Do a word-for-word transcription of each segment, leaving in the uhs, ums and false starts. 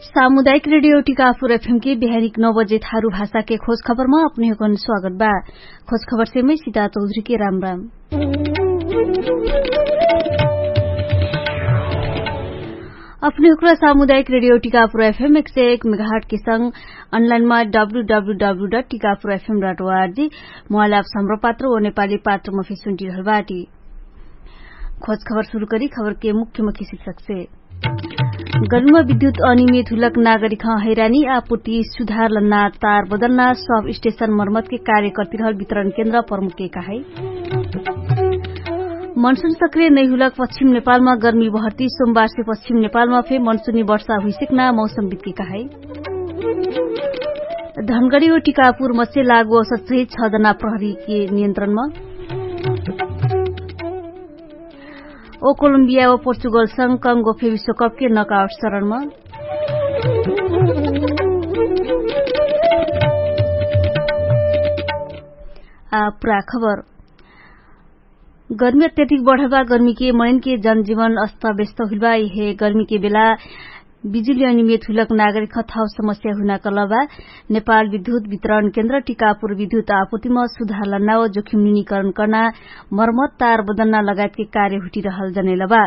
सामुदायिक रेडियो टिकापुर एफएम के बिहानिक नौ बजे थारु भाषा के खोज खबर मा अपने हुकन स्वागत बा। खोज खबर से मै सिता चौधरी के राम राम। अपने हुकरा सामुदायिक रेडियो टिकापुर एफएम एक सय एक मेगाहट के संग अनलाइन मा W W W dot Tikapur F M dot O R G mobile app सम्र पात्र ओ नेपाली पात्र मा फेसुन टिरहल बाटी। खोज खबर सुरु करी खबर के मुख्य मुख्य शिक्षक से। गर्मीमा विद्युत अनियमित हुलक नागरिक हैरानी आपूर्ति सुधार लन्ना तार बदलना सब स्टेशन मर्मत के कार्य कर्तिरहल वितरण केन्द्र प्रमुख के कहाई। मनसुन सक्रिय नैहुलक पश्चिम नेपालमा गर्मी बहर्ती सोमबार से पश्चिम नेपालमा फे मनसुनी वर्षा हुइसिक्ना मौसम बितके कहाई। धनगडी ओ टिकापुर मत्स्य लागु औसत सहित छ जना प्रहरी के नियन्त्रणमा। ओ कोलम्बिया ओ पोर्चुगल संग कंगो फे विश्वकप के नकाउट चरणमा। आ पुरा खबर। गर्मी अत्यधिक बढबा गर्मी के मनैन के जनजीवन अस्त व्यस्त हुइलबा इहे गर्मी के बेला बिजुली अनियमित हुइलक नागरिक खथाउ समस्या हुइना कलबा। नेपाल विद्युत वितरण केन्द्र टिकापुर विद्युत आपुतिमा सुधार लन्ना ओ जोखिम निनिकरण कर्ना मर्मत तार बदन्ना लगायत के कार्य हुइटिरहल जनैलबा।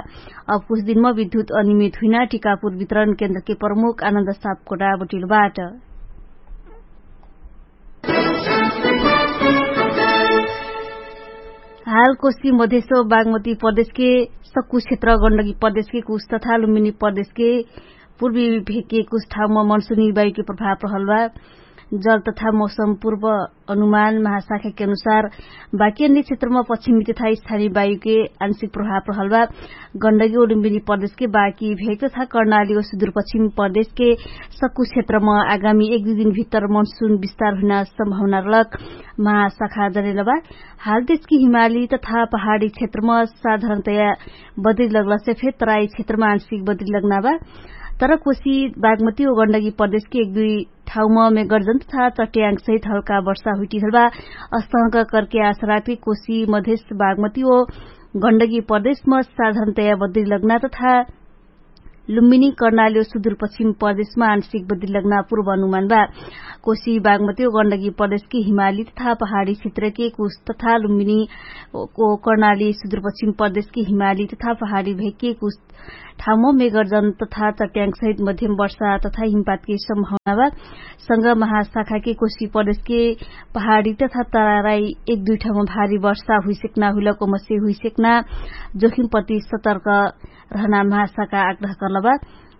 अब कुछ दिनमा विद्युत अनियमित हुइना टिकापुर वितरण केन्द्र के प्रमुख आनन्द सापकोटा बटिलबाट। हाल कोशी मधेश बागमती प्रदेश के सक्कु क्षेत्र गण्डकी प्रदेश के कुछ तथा लुम्बिनी प्रदेश के पूर्वी भेके कुछ ठाउमा मनसुनी बायु के प्रभाव रहल बा। जल तथा मौसम पूर्व अनुमान महाशाखा के अनुसार बाकी अन्य क्षेत्रमा पश्चिमी तथा स्थानीय बायु के आंशिक प्रभाव रहल बा। गण्डकी ओ लुम्बिनी प्रदेश के बाकी भेक तथा कर्णाली ओ सुदूरपश्चिम प्रदेश के सक्कु क्षेत्रमा आगामी एक दुई दिन भित्तर मनसुन विस्तार हुइना सम्भावना रहलक महाशाखा जनेलबा। हाल देश के हिमाली तथा पहाडी क्षेत्रमा साधारणतया बदरी लग्ला से फेर तराई क्षेत्रमा आंशिक बदरी लग्ना बा। तर कोशी बागमती ओ गण्डकी प्रदेश के एक दुई ठाउमा मेगर्जन तथा चट्याङ्ग सहित हल्का वर्षा हुइटिहल बा। अस्तहक करके आसराती कोशी मधेश बागमती ओ गण्डकी प्रदेशमा साधारणतया बदरी लग्ना तथा लुम्बिनी कर्णाली ओ सुदूरपश्चिम प्रदेशमा आंशिक बदरी लग्ना पूर्व अनुमान बा। कोशी बागमती ओ गण्डकी प्रदेश के हिमाली तथा पहाडी क्षेत्र के कुछ तथा लुम्बिनी ओ कर्णाली सुदूरपश्चिम प्रदेश के हिमाली तथा पहाडी भेके कुछ ठाउमा मेगर्जन तथा चट्याङ्ग सहित मध्यम वर्षा तथा हिमपात के सम्भावना बा। संग महाशाखा के कोशी प्रदेश के पहाडी तथा तराई एक दुई ठाउमा भारी वर्षा हुइसेक्ना हुइलक ओमसे हुइसेक्ना जोखिम प्रति सतर्क रहना महाशाखा आग्रह कर्लबा।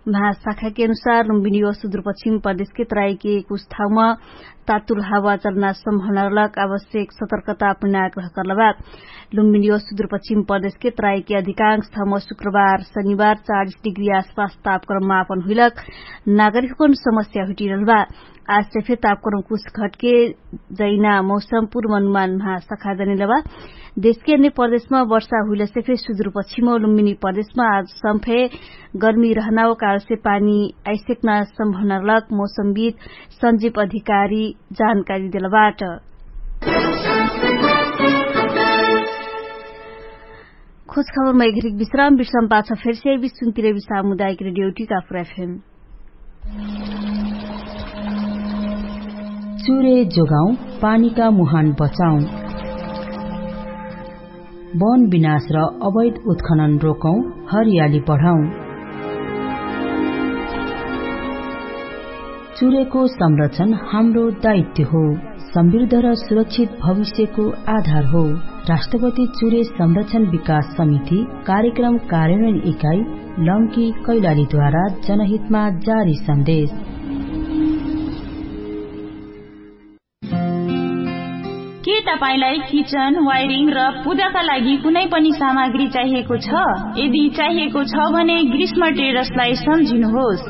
महाशाखा के अनुसार लुम्बिनी ओ सुदूरपश्चिम प्रदेश के तराई के कुछ ठाउमा तातुल हावा चल्ना सम्भावना रहलक आवश्यक सतर्कता अपना आग्रह कर्लबा। लुम्बिनी ओ सुदूरपश्चिम प्रदेश के तराई के अधिकांश ठाउमा शुक्रबार शनिबार चालिस डिग्री आसपास तापक्रम मापन हुइलक नागरिकको समस्या हुइटिरहल बा। आज से फेर तापक्रम कुछ घटके जैना मौसम पूर्वानुमान महाशाखा जनेलबा। देश के अन्य प्रदेशमा वर्षा हुइला से फेर सुदूरपश्चिम ओ लुम्बिनी प्रदेशमा आज सम्फे गर्मी रहना ओ काल से पानी आइसेक्ना सम्भावना रहलक मौसमविद सञ्जीव अधिकारी जानकारी देलबाट। खोज खबरमा एघरिक विश्राम विश्राम पाछ फेरसे विश्वतिर सामुदायिक रेडियो टिकापुर एफएम। चुरे जोगाउँ, पानीका मुहान बचाउँ। वन विनाश र अवैध उत्खनन रोकौँ, हरियाली बढाउँ। चुरेको संरक्षण हाम्रो दायित्व हो। समृद्ध र सुरक्षित भविष्यको आधार हो। राष्ट्रपति चुरे संरक्षण विकास समिति कार्यक्रम कार्यान्वयन इकाइ लम्की कैलालीद्वारा जनहितमा जारी सन्देश। के तपाईंलाई किचन वायरिङ र पूजाका लागि कुनै पनि सामग्री चाहिएको छ? यदि चाहिएको छ भने ग्रीष्म टेरसलाई सम्झिनुहोस्।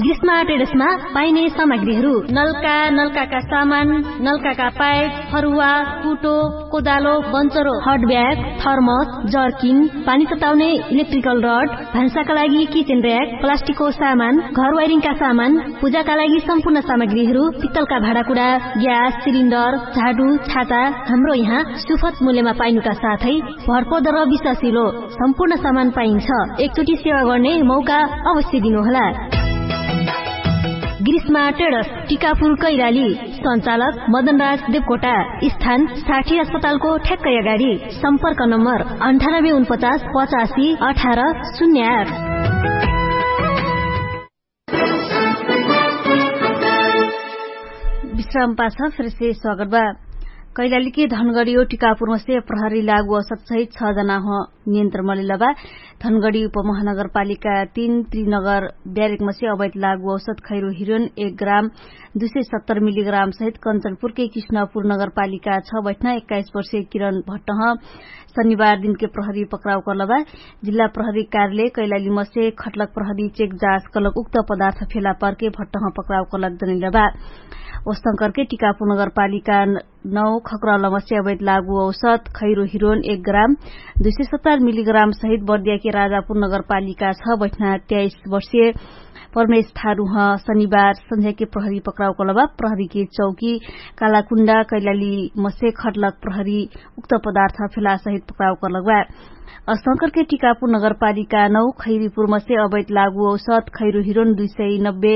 ग्रीष्मा ट्रेडर्समा पाइने सामग्रीहरू नल्का नल्काका सामान, नल्काका पाइप, फरुवा, कुटो, कोदालो, बन्चरो, हटब्याग, थर्मस, जर्किन, पानी तताउने, इलेक्ट्रिकल रड, भान्साका लागि किचेन र्याक, प्लास्टिकको सामान, घर वाइरिङका सामान, पूजाका लागि सम्पूर्ण सामग्रीहरू, पित्तलका भाँडाकुडा, ग्यास सिलिन्डर, झाडु, छाता, हाम्रो यहाँ सुफत मूल्यमा पाइनुका साथै भरपर्दो र विश्वासिलो सम्पूर्ण सामान पाइन्छ। एकचोटि सेवा गर्ने मौका अवश्य दिनुहोला। ग्रीष्मा ट्रेडर्स, टिकापुर कैलाली। सञ्चालक मदनराज देवकोटा। स्थान साठी अस्पतालको ठ्याक्कै अगाडि। सम्पर्क नम्बर अन्ठानब्बे उनपचास पचासी अठार शून्य आठ। विश्राम पाछ फेरसे स्वागत बा। कैलालीके धनगढी ओ टिकापुरमसे प्रहरी लागु औसत सहित छ जना हो नियन्त्रण मलेला बा। धनगढी उपमहानगरपालिका तीन त्रिनगर ब्यारेकमसे अवैध लागु औसत खैरो हिरोन एक ग्राम दुई सय सत्तर मिलिग्राम सहित कञ्चनपुरके किष्णपुर नगरपालिका छ बैठना एक्काइस वर्षे किरण भट्टह शनिबार दिनके प्रहरी पक्राउ कर्लबा। जिल्ला प्रहरी कार्यालय कैलालीमसे खट्लक प्रहरी चेक जाँच कलक उक्त पदार्थ फेला पर्के भट्टह पक्राउ कलक जनैलबा। ओस्तंकरके टिकापुर नगरपालिका नौ खक्रालमसे अवैध लागु औसत खैरो हिरोन एक ग्राम दुई सय सत्तर मिलिग्राम सहित बर्दियाके राजापुर नगरपालिका छ बैठना त्याइस वर्षे परमेश थारुह शनिबार सन्झ्याके प्रहरी पक्राउ कलबा। प्रहरीके चौकी कालाकुण्डा कैलालीमसे खट्लक प्रहरी उक्त पदार्थ फेला सहित पक्राउ कलक बा। अस्तंकरके टिकापुर नगरपालिका नौ खैरीपुरमसे अवैध लागु औसत खैरो हिरोन दुई सय नब्बे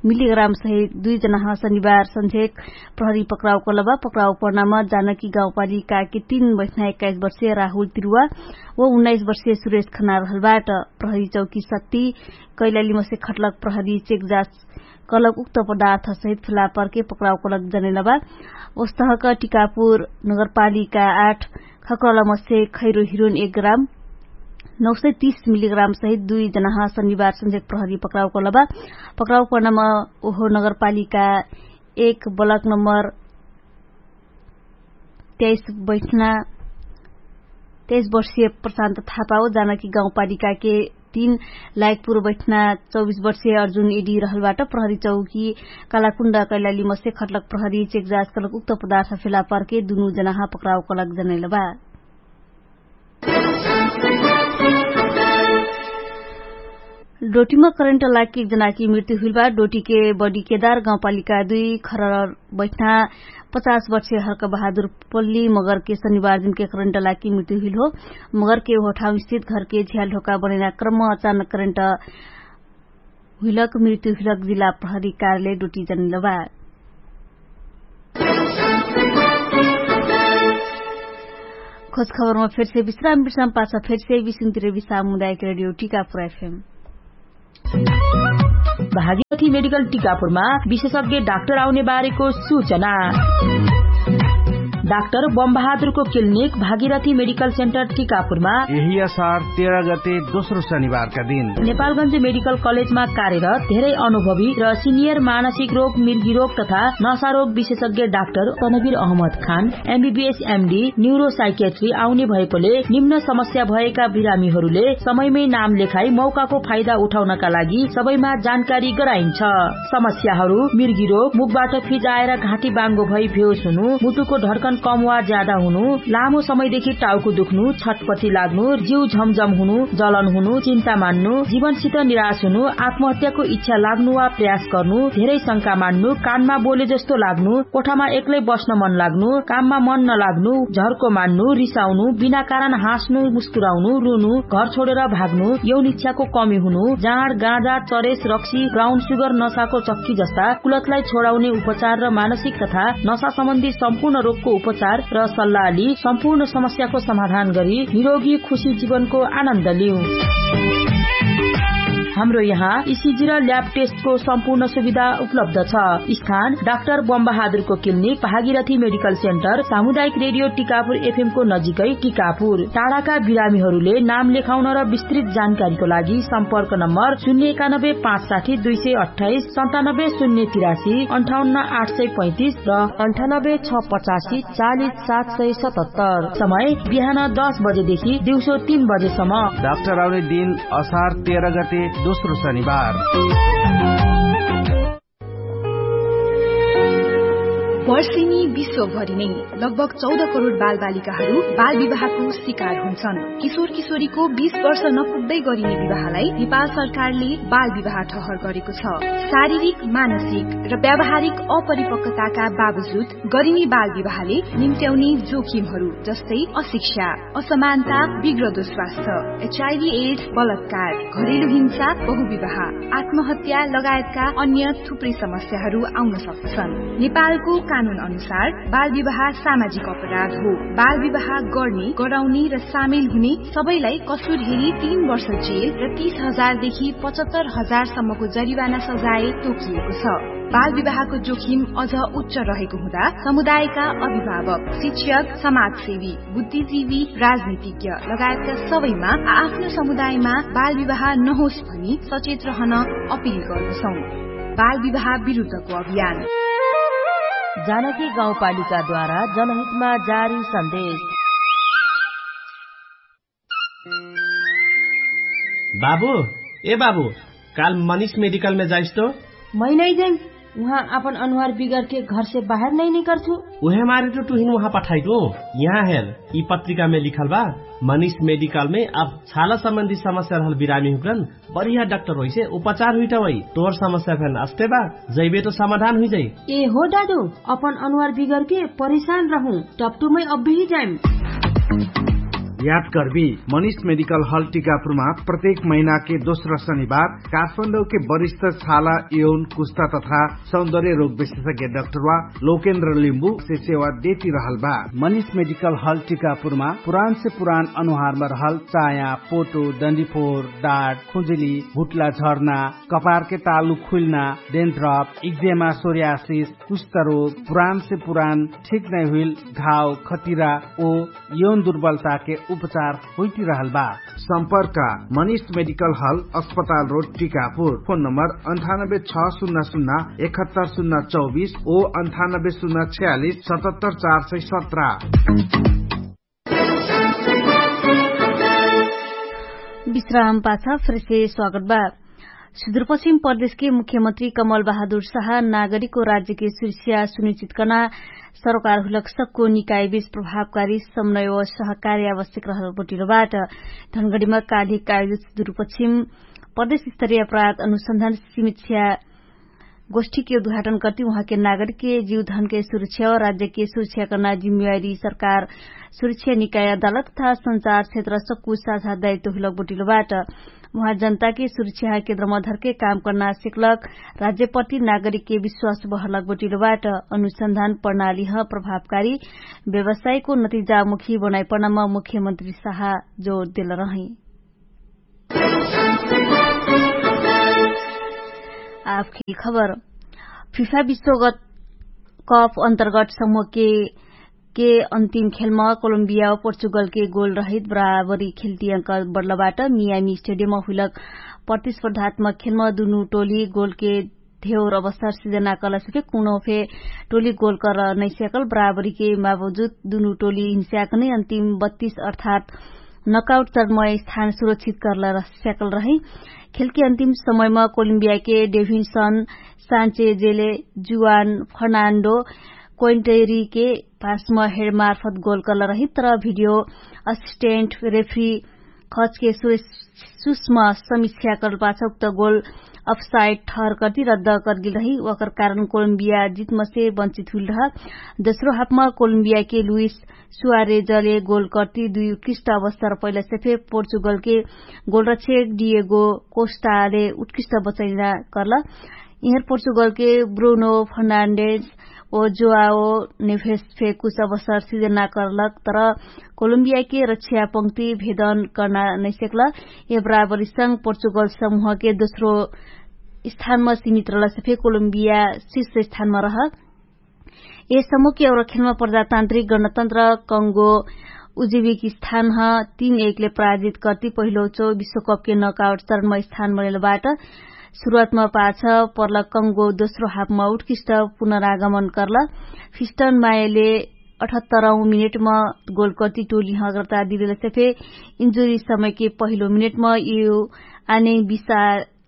मिलिग्राम सहित दुई जनाह शनिबार सन्झेक प्रहरी पक्राउ कलबा। पक्राउ पर्नामा जानकी गाउँपालिकाके तीन बैठना एक्काइस वर्षे राहुल तिरुवा व उन्नाइस वर्षे सुरेश खनार हलबाट। प्रहरी चौकी शक्ति कैलालीमसे खट्लक प्रहरी चेक जाँच कलक उक्त पदार्थ सहित फेला पर्के पक्राउ कलक जनैलबा। ओस्तहक टिकापुर नगरपालिका आठ खक्रलमसे खैरो हिरोन एक ग्राम नौ सय तीस मिलिग्राम सहित दुई जनाह शनिबार सन्झेक प्रहरी पक्राउ कलबा। पक्राउ पर्नामा ओहो नगरपालिका एक ब्लक नम्बर त्याइस बैठना त्याइस वर्षीय प्रशान्त थापा हो जानकी गाउँपालिकाके तीन लायकपुर बैठना चौबिस वर्षीय अर्जुन एडी रहलबाट। प्रहरी चौकी कालाकुण्ड कैलालीमसे खट्लक प्रहरी चेक जाँच कलक उक्त पदार्थ फेला पर्के दुनु जनाह पक्राउ कलक जनैलबा। डोटीमा करेन्ट लाकी एक जनाकी मृत्यु हुइलबा। डोटीके बडी केदार गाउँपालिका दुई खरर बैठना पचास वर्षे हर्क बहादुर पल्ली मगरके शनिबार दिनके करेन्ट लाकी मृत्यु हुइल हो। मगरके ओहो ठाउँ स्थित घरके झ्याल ढोका बनैना क्रम अचानक करेन्ट हुइलक मृत्यु हुइलक जिल्ला प्रहरी कार्यालय डोटी जनैलबा। खोज खबरमा फेरसे विश्राम विश्राम पाछ फेरसे विश्राम मुदायक रेडियो टिकापुर एफएम। भागीरथी मेडिकल टिकापुरमा विशेषज्ञ डाक्टर आउने बारेको सूचना। डाक्टर बमबहादुरको क्लिनिक भागीरथी मेडिकल सेन्टर टिकापुरमा यही असार तेह्र गते दोस्रो शनिबारका दिन नेपालगञ्ज मेडिकल कलेजमा कार्यरत धेरै अनुभवी र सिनियर मानसिक रोग मिर्गी रोग तथा नशा रोग विशेषज्ञ डाक्टर तनवीर अहमद खान एमबीबीएस एमडी न्युरोसाइकेट्री आउने भएकोले निम्न समस्या भएका बिरामीहरूले समयमै नाम लेखाई मौकाको फाइदा उठाउनका लागि सबैमा जानकारी गराइन्छ। समस्याहरू मिर्गी रोग मुखबाट फिजाएर घाँटी बाङ्गो भई भेउस हुनु मुटुको ढड्कन कम वा ज्यादा हुनु लामो समयदेखि टाउको दुख्नु छटपटी लाग्नु जिउ झमझम हुनु जलन हुनु चिन्ता मान्नु जीवनसित निराश हुनु आत्महत्याको इच्छा लाग्नु वा प्रयास गर्नु धेरै शंका मान्नु कानमा बोले जस्तो लाग्नु कोठामा एक्लै बस्न मन लाग्नु काममा मन नलाग्नु झर्को मान्नु रिसाउनु बिना कारण हाँस्नु मुस्कुराउनु रुनु घर छोडेर भाग्नु यौन इच्छाको कमी हुनु जाँड गाँजा चरेस रक्सी ब्राउन सुगर नसाको चक्की जस्ता कुलतलाई छोडाउने उपचार र मानसिक तथा नसा सम्बन्धी सम्पूर्ण रोगको उपचार र सल्लाहली सम्पूर्ण समस्याको समाधान गरी निरोगी खुशी जीवनको आनन्द लिउ। हाम्रो यहाँ इसिजी र ल्याब टेस्टको सम्पूर्ण सुविधा उपलब्ध छ। स्थान डाक्टर बमबहादुरको क्लिनिक भागीरथी मेडिकल सेन्टर सामुदायिक रेडियो टिकापुर एफएमको नजिकै टिकापुर। टाढाका बिरामीहरूले नाम लेखाउन र विस्तृत जानकारीको लागि सम्पर्क नम्बर शून्य एकानब्बे पाँच साठी दुई सय अट्ठाइस सन्तानब्बे शून्य तिरासी अन्ठाउन्न आठ सय पैँतिस र अन्ठानब्बे छ पचासी चालिस सात सय सतहत्तर। समय बिहान दस बजेदेखि दिउँसो तीन बजेसम्म। डाक्टर आउने दिन असार तेह्र गते दोस्रो शनिबार। वर्षेनी विश्वभरि नै लगभग चौध करोड बालबालिकाहरू बालविवाहको शिकार हुन्छन्। किशोर किशोरीको बीस वर्ष नपुग्दै गरिने विवाहलाई नेपाल सरकारले बालविवाह ठहर गरेको छ। शारीरिक, मानसिक र व्यावहारिक अपरिपक्वताका बावजुद गरिने बालविवाहले निम्त्याउने जोखिमहरू जस्तै अशिक्षा, असमानता, बिग्रदो स्वास्थ्य, एचआइभी एड्स, बलात्कार, घरेलु हिंसा, बहुविवाह, आत्महत्या लगायतका अन्य थुप्रै समस्याहरू आउन सक्दछन्। नेपालको कानुन अनुसार बालविवाह सामाजिक अपराध हो। बालविवाह गर्ने, गराउने र सामेल हुने सबैलाई कसुर हेरी तीन वर्ष जेल र तीस हजार देखि पचहत्तर हजार सम्मको जरिवाना सजाय तोकिएको छ। बालविवाहको जोखिम अझ उच्च रहेको हुँदा समुदायका अभिभावक, शिक्षक, समाजसेवी, बुद्धिजीवी, राजनीतिज्ञ लगायतका सबैमा आ-, आफ्नो समुदायमा बालविवाह नहोस् भनी सचेत रहन अपिल गर्दछौँ। बालविवाह विरुद्धको अभियान। जानकी गाउँपालिकाद्वारा जनहितमा जारी सन्देश। बाबु, ए बाबु, काल मनिष मेडिकलमे जाइस तो? मै नै जाइम। उहाँ आपन अनुहार बिगरके घरसे बाहेर नै निकर्छु। उहे मारे तो टुहिन उहाँ पठाइटु। यहाँ हेर, यि पत्रिकामे लिखल बा, मनिष मेडिकलमे अब छाला सम्बन्धी समस्या रहल बिरामी हुक्रन बढिया डाक्टर होइसे उपचार हुइटा वइ। तोर समस्या फेन अस्ते बा, जैबे तो समाधान हुइजाइ। ए हो डाडु, अपन अनुहार बिगरके परेशान रहु, टपटुमै अब्बेही जाइम। याद गर्बी, मनिष मेडिकल हल टिकापुरमा प्रत्येक महिनाके दोस्रा शनिबार काठमाडौके वरिष्ठ छाला, यौन, कुस्ता तथा सौन्दर्य रोग विशेषज्ञ डाक्टरवा लोकेन्द्र लिम्बु से सेवा देति रहल बा। मनिष मेडिकल हल टिकापुरमा पुरान से पुरान अनुहारमा रहल चाया, पोटो, डन्डीफोर, डाट, खुजुली, भुट्ला झर्ना, कपारके तालु खुइल्ना, डेन्ड्रप, इक्जेमा, सोरियासिस, कुष्ठरोग, पुरान से पुरान ठिक नै हुइल घाव, खतिरा ओ यौन दुर्बलताके उपचार होइतिरहल बा। सम्पर्क, मनिष मेडिकल हल, अस्पताल रोड, टिकापुर। फोन नम्बर अन्ठानब्बे छ सुन्ना सुन्ना एकहत्तर सुन्ना चौबिस ओ अन्ठानब्बे सुन्ना छयालिस सतहत्तर चार सय सत्र। विश्राम पाछा फेरसे स्वागत बा। सुदूरपश्चिम प्रदेशके मुख्यमन्त्री कमल बहादुर शाह नागरिकको राज्यके सुरक्षा सुनिश्चित कर्ना सरोकार हुलक सक्को निकायबीच प्रभावकारी समन्वय व सहकार्य आवश्यक रहल बोटिलो बाट। धनगढीमा कालिक आयोजित सुदूरपश्चिम प्रदेश स्तरीय अपराध अनुसन्धान समीक्षा गोष्ठीके उद्घाटन कर्ति उहाँके नागरिकके जीवधनके सुरक्षा व राज्यके सुरक्षा कर्ना जिम्मेवारी सरकार सुरक्षा निकाय अदालत तथा सञ्चार क्षेत्र सक्कु साझा दायित्व हुलक बोटिलो बाट। उहाँ जनताके सुरक्षा केन्द्रमा धरके काम कर्ना सिक्लक राज्यपट्टि नागरिकके विश्वास बहलक बोटिलो बाट। अनुसन्धान प्रणालीह प्रभावकारी व्यवसायको नतिजामुखी बनाइपर्नामा मुख्यमन्त्री शाह जोर देल रहै। आफके खबर। फिफा विश्वगत कप अन्तर्गत समूहके के अन्तिम खेलमा कोलम्बिया पोर्चुगलके गोल रहित बराबरी खेल्तियंक बडलबाट मियामी स्टेडियममा हुइलक प्रतिस्पर्धात्मक खेलमा दुनु टोली गोलके धेउर अवस्था सिर्जना कलसके कुनो फे टोली गोल कर नैस्याकल बराबरीके बावजुद दुनु टोली हिंस्याक नै अन्तिम बत्तीस अर्थात् नकाउट चरणमय स्थान सुरक्षित करल स्याकल रहै। खेलके अन्तिम समयमा कोलम्बियाके डेभिन्सन सान्चेजेले जुवान फर्नान्डो कोइन्टेरीके पासमा हेडमार्फत गोल करल रही तर भिडियो असिस्टेन्ट रेफ्री खचके सुष्म समिक्षा करल पाछ उक्त गोल अफसाइड ठहर कर्ति रद्द करगेल रही। ओकर कारण कोलम्बिया जितमसे वञ्चित हुइल रह। दोस्रो हाफमा कोलम्बियाके लुइस सुवारेजले गोल कर्ति दुइ उत्कृष्ट अवस्था र पहिला सेफे पोर्चुगलके गोलरक्षक डिएगो कोस्टाले उत्कृष्ट बचैना करल। इहर पोर्चुगलके ब्रुनो फर्नान्डेज ओ जोआओ नेभेस फे कुछ अवस्था सिर्जना करलक तर कोलम्बियाके रक्षा पंक्ति भेदन कर्ना नैसेकल। यह बराबरी संग पोर्चुगल समूहके दोस्रो स्थानमा सीमित रहल सेफे कोलम्बिया शिष्य स्थानमा रहक। यस समुख्य और खेलमा प्रजातान्त्रिक गणतन्त्र कंगो उजिबिक स्थानह तीन एकले पराजित कर्ति पहिलो चो विश्वकपके नकाउट चरणमा स्थान बनेलबाट। सुरुवातमा पाछ पर्ल कंगो दोस्रो हाफमा उत्कृष्ट पुनरागमन कर्ल। फिस्टन मायले अठहत्तरौं मिनेटमा गोल कर्ति टोली हगरता दिलेल सेफे इन्जुरी समयके पहिलो मिनेटमा यु आने बिसा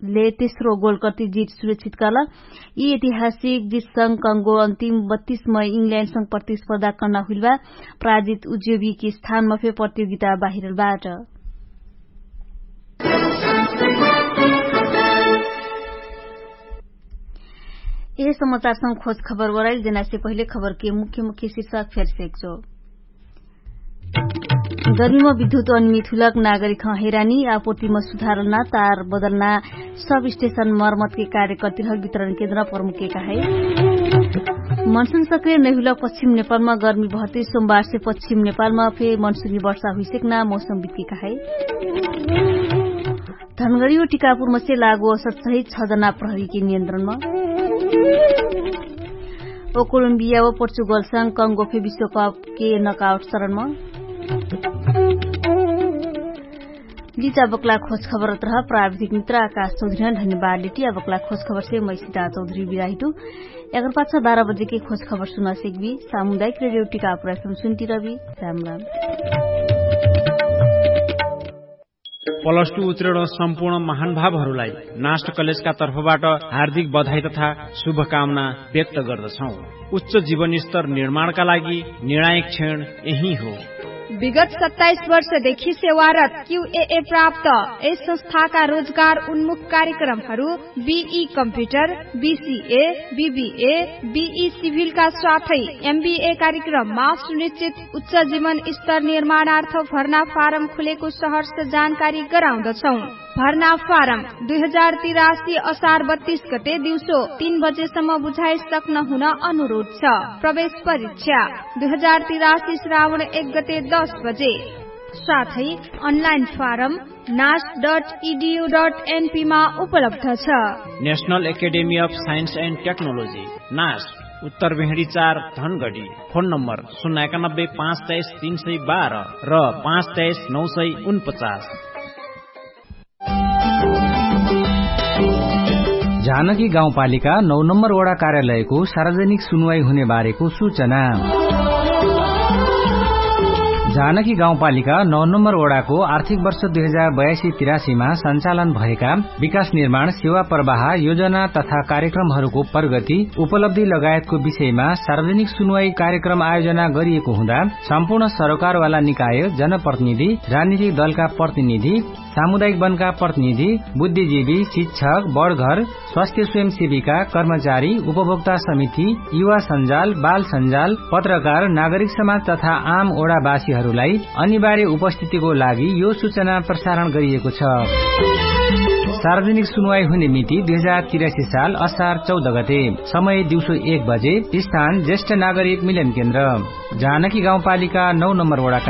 ले तेस्रो गोल कर्ति जित सुरक्षित कर्ल। यि ऐतिहासिक जितसँग कङ्गो अन्तिम बत्तीस मई इङ्ल्याण्डसँग प्रतिस्पर्धा कर्ना हुइलबा। प्राजित उज्योबीके स्थानमा फे प्रतियोगिता बाहिरल बाट। यह समाचारसँग खोज खबर वराइल जेनासे पहिले खबरके मुख्य मुख्य शिर्षक फेर सेक्चो। गर्मीमा विद्युत अनिमित हुलक नागरिक हैरानी आपूर्तिमा सुधारलना तार बदलना। सब स्टेशन मर्मतके कार्यकर्तिरहक वितरण केन्द्र प्रमुखके कहाई। मनसुन सक्रिय नैहुलक पश्चिम नेपालमा गर्मी भर्ती सोमबारसे पश्चिम नेपालमा फे मनसुनी वर्षा हुइसेक्ना मौसम बित्के कहाई। धनगडी व टिकापुर मसे लागु औसत सहित छ जना प्रहरीके नियन्त्रणमा। ओ कोलम्बिया व पोर्चुगलसँग कङ्गो फे विश्वकपके नकाउट चरणमा। लिचा बक्ला खोज खबर तरह प्राविधिक मित्र आकाश चौधरी धन्यवाद लेटी आ बक्ला खोज खबर से मै सिता चौधरी बिराहिटु। एकर पाछा बाह्र बजेके खोज खबर सुना सेकबी। सामुदायिक रेडियो टिकापुर एफएम सुन्टी रबी। राम राम। प्लस टु उत्तीर्ण सम्पूर्ण महानुभावहरूलाई नाष्ट कलेजका तर्फबाट हार्दिक बधाई तथा शुभकामना व्यक्त गर्दछौ। उच्च जीवनस्तर निर्माणका लागि निर्णायक क्षण यही हो। विगत सत्ताइस वर्षदेखि सेवारत क्युएए प्राप्त यस संस्थाका रोजगार उन्मुख कार्यक्रमहरू बिई कम्प्युटर, बिसिए, बिबिए, बिई सिभिलका साथै एमबिए कार्यक्रममा सुनिश्चित उच्च जीवन स्तर निर्माणार्थ भर्ना फारम खुलेको सहर्ष जानकारी गराउँदछौ। भर्ना फारम दुई हजार तिरासी असार बत्तीस गते दिउँसो तीन बजेसम्म बुझाइ सक्न हुन अनुरोध छ। प्रवेश परीक्षा दुई हजार तिरासी श्रावण एक गते दस बजे। साथै अनलाइन फारम नास डट इडियु डट एनपी मा उपलब्ध छ। National academy of science and technology, नास, उत्तर भेडी चार, धनगडी। फोन नम्बर शून्य एकानब्बे पाँच तेइस तीन सय बाह्र र पाँच तेइस नौ सय उनपचास। जानकी गाउँपालिका नौ नम्बर वडा कार्यालयको सार्वजनिक सुनुवाई हुने बारेको सूचना। जानकी गाउँपालिका नौ नम्बर वडाको आर्थिक वर्ष दुई हजार बयासी तिरासीमा सञ्चालन भएका विकास निर्माण, सेवा प्रवाह, योजना तथा कार्यक्रमहरूको प्रगति, उपलब्धि लगायतको विषयमा सार्वजनिक सुनुवाई कार्यक्रम आयोजना गरिएको हुँदा सम्पूर्ण सरोकारवाला निकाय, जनप्रतिनिधि, राजनीतिक दलका प्रतिनिधि, सामुदायिक वनका प्रतिनिधि, बुद्धिजीवी, शिक्षक, बडघर, स्वास्थ्य स्वयंसेविका, कर्मचारी, उपभोक्ता समिति, युवा सञ्जाल, बाल सञ्जाल, पत्रकार, नागरिक समाज तथा आम ओडावासीहरूलाई अनिवार्य उपस्थितिको लागि यो सूचना प्रसारण गरिएको छ। सार्वजनिक सुनुवाई हुने मिति दुई हजार तिरासी साल असार चौध गते, समय दिउँसो एक बजे, स्थान ज्येष्ठ नागरिक मिलन केन्द्र, जानकी गाउँपालिका नौ नम्बर वडा।